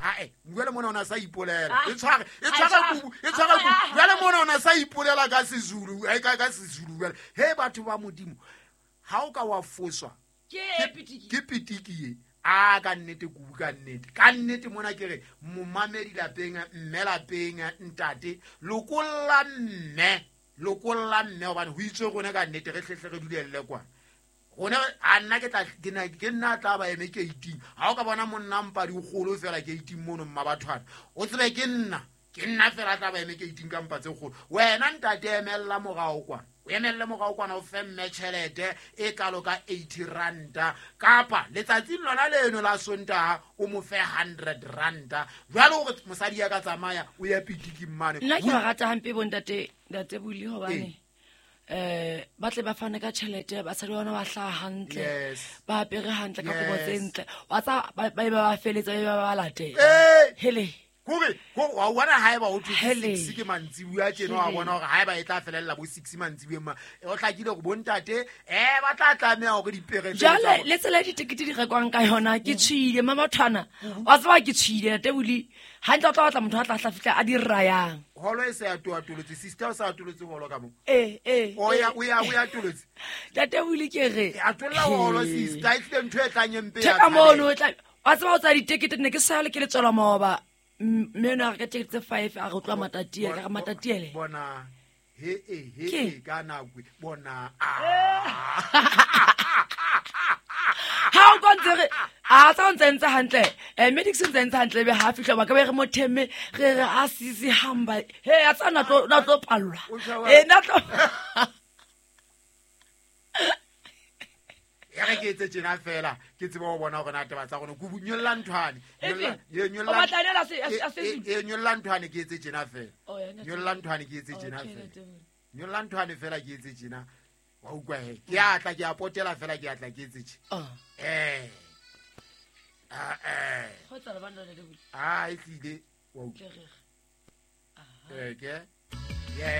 Ae, jale mona o ne a sa ipolela. E tshware, e tshware kubu, e tshware kubu. Jale mona o ne a sa ipolela ka Sezulu, ka Sezulu jale. He batho ba Modimo, ha o ka wa foswa ke pitiki ye. A ka nnete kubu, ka nnete. Ka nnete mona ke re momamedi lapeng, mme lapeng, ntate, lokolla mme, lokolla mme hobane ho itswe rona ka nnete re hlehle re dulelle kwana. Rona a nna ke tla ke na ke nna tla ba eme gate-ing. Ha o ka bona monna mpa di kgolo fela gate-ing mono mma bathwana, o tsebe ke nna, ke nna fela tla ba eme gate-ing ka mpa tse kgolo. Wena ntate emella morao kwana, o emelle morao kwana, o fe mme tjhelete e kalo ka 80 ranta, kapa letsatsing lona leno la Sontaha o mo fe 100 ranta. Jwale hore mosadi ya ka tsamaya o ya pitiking mane. Nna ke ba rata hampe bo ntate, ntate Buli, hobane ba tle ba fane ka tjhelete, basadi ba bona ba hlaha hantle, ba apere hantle ka kobo tse ntle. Wa tsa ba ba ba feletsa, ba ba latela. Hele. Kore, ko, wa bona ha eba ho thwe Hele. 6 ke mantsibuya tjena, wa Hele. bona hore ha eba e tla felella bo 6 mantsibuyeng ma, o hlakile hore bo ntate, ba tla tlameha hore dipere tseo Jwale, tsa bona. le tsela e ditekete di rekwang ka yona, ke tshwile, mma bathwana. Wa tseba ke tshwile, ntate Buli. Hantle o tla batla motho a tla tla fihla a di rayang. Holo e se a atolotse, sister o sa atolotse holo ka mo. Eh, eh, O ya, eh. o ya, o ya atolotse. Ntate Buli ke re. E atolla holo, sister, e tlile ntho e tlang e mpe ya Theka mono, tshabela. o tla, wa tseba o tsaya ditekete, ne ke sale ke le tswela maoba. Mme eno a re ka tekete tse 5, a re utlwa Matatiele, ka re Matatiele. Bona, he, he, he, Ke? he, ka nako e, bona, Ha o ka ntse re, a tsa o ntse ntse hantle. Medics ntse ntse hantle, ebe ha fihla ba ka be re mo theme, re re a sisi hamba. He, a tsa na tlo, na tlo pallwa. O tjha wa- Na tlo Ya re ke etse tjena fela, ke tsebe ho bona hore na taba tsa rona. Kubu, nyolla nthwane. Efe? Nyolla, ye, nyolla O batla nela se, a se, a se E, Zulu? e, nyolla nthwane ke etse tjena fela. Oh, ya, nna Nyolla nthwane ke etse tjena Okay, fela. ntate Buli. Nyolla nthwane fela ke etse tjena. Wa utlwa he. Ke a tla, ke a potela fela, ke a tla ke etse tjena. Ah. Ah, eh. Kgotsa le bana, ntate Buli. Ah, e tlile. Wa utlwa. Ke re. Ke. Ye,